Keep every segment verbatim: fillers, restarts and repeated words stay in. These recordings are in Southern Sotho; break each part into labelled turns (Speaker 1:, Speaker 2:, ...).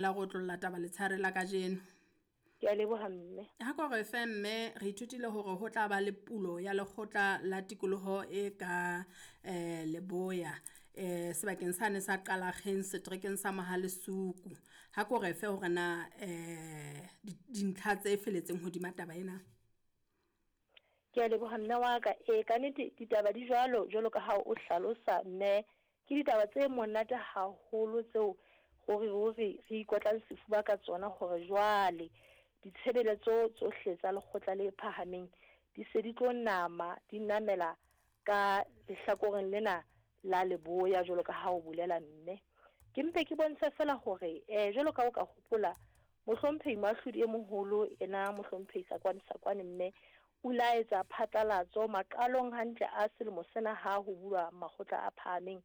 Speaker 1: La go otlolla taba letshehare la kajeno.
Speaker 2: Ke a leboha mme.
Speaker 1: Ha ko re fe mme, re ithutile hore ho tla ba le pulo ya lekgotla la tikoloho e ka eh leboya eh sebakeng sane sa Qalakgeng seterekeng sa Mohale'Soku. Ha ko re fe hore na eh dintlha tse felletseng hodima taba ena.
Speaker 2: Ke a leboha mme wa ka. E ka nnete ditaba di jwalo jwalo ka ha o hlalosa mme, ke ditaba tse monate haholo tseo hore ruri re ikotlang sefuba ka tsona hore jwale ditshebeletso tsohle tsa lekgotla le phahameng di se di tlo nama, di namela ka lehlakoreng lena la leboya jwalo ka ha o bolela mme. Ke mpe ke bontshe fela hore eh jwalo ka o ka hopola mohlomphehi moahlodi e moholo ena mohlomphehi Sakoane Sakoane mme o la etsa phatlalatso maqalong hantle a selemo sena ha ho bulwa makgotla a phahameng.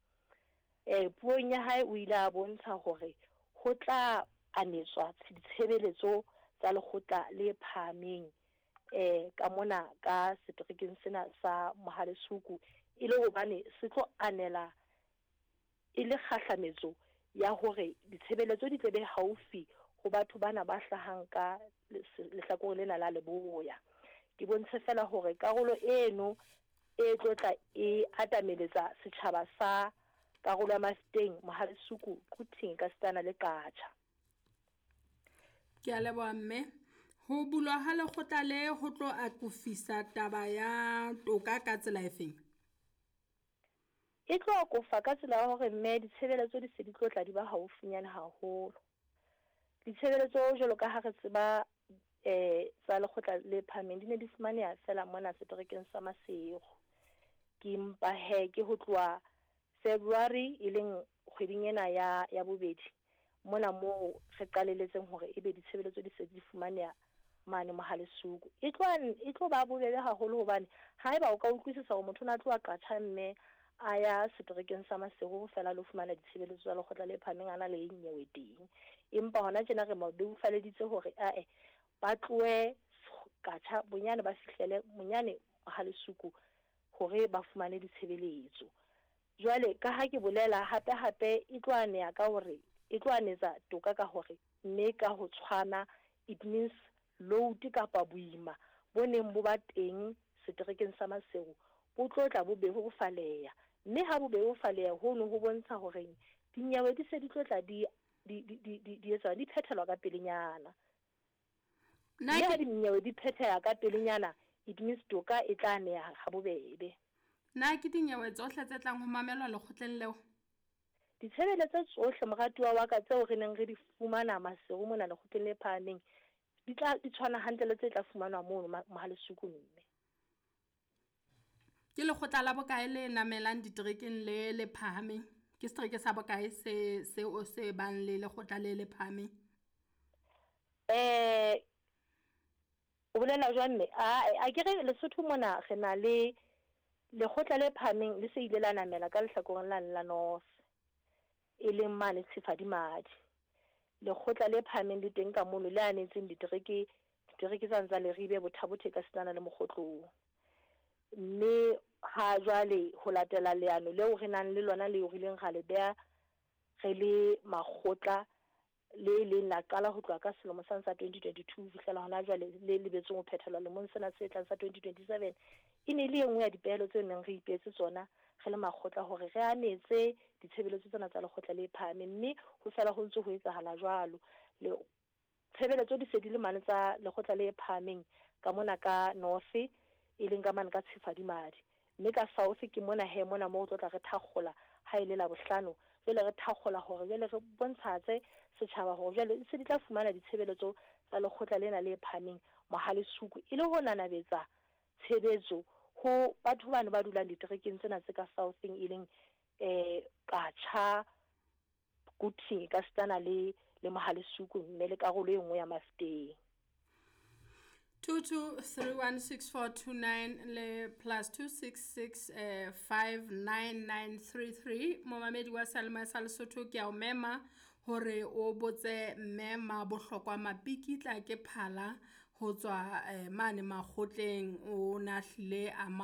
Speaker 2: Eh puong ya hae o ile a bontsha hore ho tla anetswa ditshebeletso tsa lekgotla le phahameng eh ka mona ka seterekeng sena sa Mohale'Soku, e le hobane se tlo anela e le kgahlametso ya hore ditshebeletso di tle be haufi ho batho bana ba hlahang ka lehlakoreng lena la leboya. Ke bontshe fela hore karolo eno e tlo tla e atameletsa setjhaba sa karolo ya Mafeteng, Mohale'Soku, Quthing ka sitana le Qacha.
Speaker 1: Ke a leboha mme. Ho bulwa ha lekgotla le ho tlo akofisa taba ya toka ka tsela efeng?
Speaker 2: E tlo akofa ka tsela ya hore mme ditshebeletso di se di tlo tla di ba haufinyane haholo. Ditshebeletso jwalo ka ha re tseba eh tsa lekgotla le phahameng di ne di fumaneha fela mona seterekeng sa Maseru. Ke mpa he ke ho tloha February e leng kgweding ena ya ya bobedi mona moo re qalelletseng hore ebe ditshebeletso di se di fumaneha mane Mohale'Soku. E tlo e tlo ba bobebe haholo hobane haeba o ka utlwisisa hore motho o na tloha Qacha mme a ya seterekeng sa Maseru fela lo fumana ditshebeletso tsa lekgotla le phahameng a na le nyewe teng. Empa hona tjena re mo bebofaleditse hore ae ba tlohe Qacha bonyane ba fihlele monyane Mohale'Soku hore ba fumane ditshebeletso. Jwale ka ha ke bolela hape hape e tlo aneha ka hore e tlo anetsa toka ka hore mme ka ho tshwana, it means load kapa boima bo neng bo ba teng seterekeng sa Maseru bo tlo tla bo bebofaleha, mme ha bo bebofaleha hono ho bontsha hore dinyewe di se di tlo tla di di di di di etswa di phethelwa ka pelenyana.
Speaker 1: Nna
Speaker 2: Mme ha
Speaker 1: ke
Speaker 2: dinyewe di phetheha ka pelenyana, it means toka e tla neha ha bobebe.
Speaker 1: Na ke dinyewe tsohle tse tlang ho mamelwa lekgotleng leo?
Speaker 2: Ditshebeletso tsohle moratuwa wa ka tseo re neng re di fumana Maseru mona lekgotleng le phahameng di tla di tshwana hantle le tse tla fumanwa mono Mohale'Soku mme.
Speaker 1: Ke lekgotla la bokae le namelang diterekeng le le phahameng? Ke setereke sa bokae se seo se bang le lekgotla le le phahameng?
Speaker 2: Eh o bolela jwang mme? A akere Lesotho mona re na le lekgotla le phahameng le se ile la namela ka lehlakoreng lane la North, e leng mane Tshifadimadi. Lekgotla le phahameng le teng ka mono le anetseng ditereke ditereke tsane tsa Leribe, Botha-Bothe ka sitana le Mokgotlong. Mme ha jwale ho latela leano leo re nang le lona leo re ileng ra le beha re le makgotla, le leng la qala ho tloha ka selemo sane sa twenty twenty-two ho fihlela hona jwale le lebetseng ho phethelwa lemong sena se tlang sa twenty twenty-seven. E ne le e nngwe ya dipehelo tseo neng re ipehetse tsona re le makgotla hore re anetse ditshebeletso tsena tsa lekgotla le phahameng, mme ho fela ho ntse ho etsahala jwalo. Le tshebeletso di se di le mane tsa lekgotla le phahameng ka mona ka North, e leng ka mane ka Tshifadimadi, mme ka South ke mona he mona moo re tlo tla re thakgola ha e le Labohlano. Jwale re thakgola hore jwale re bontshatse setjhaba hore jwale se di tla fumana ditshebeletso tsa lekgotla lena le phahameng Mohale'Soku, e le ho nanabetsa tshebetso ho batho bano ba dulang diterekeng tsena tse ka Southeng, e leng eh Qacha, Quthing ka sitana le le Mohale'Soku mme le karolo e nngwe ya Mafeteng.
Speaker 1: two two three one six four two nine le plus two six six eh, five nine nine three three. Momamedi wa Seyalemoya sa Lesotho, ke a o mema hore o botse mme Mabohlokwa Mapikitla ke phala ho tswa eh, mane makgotleng. O na hlile a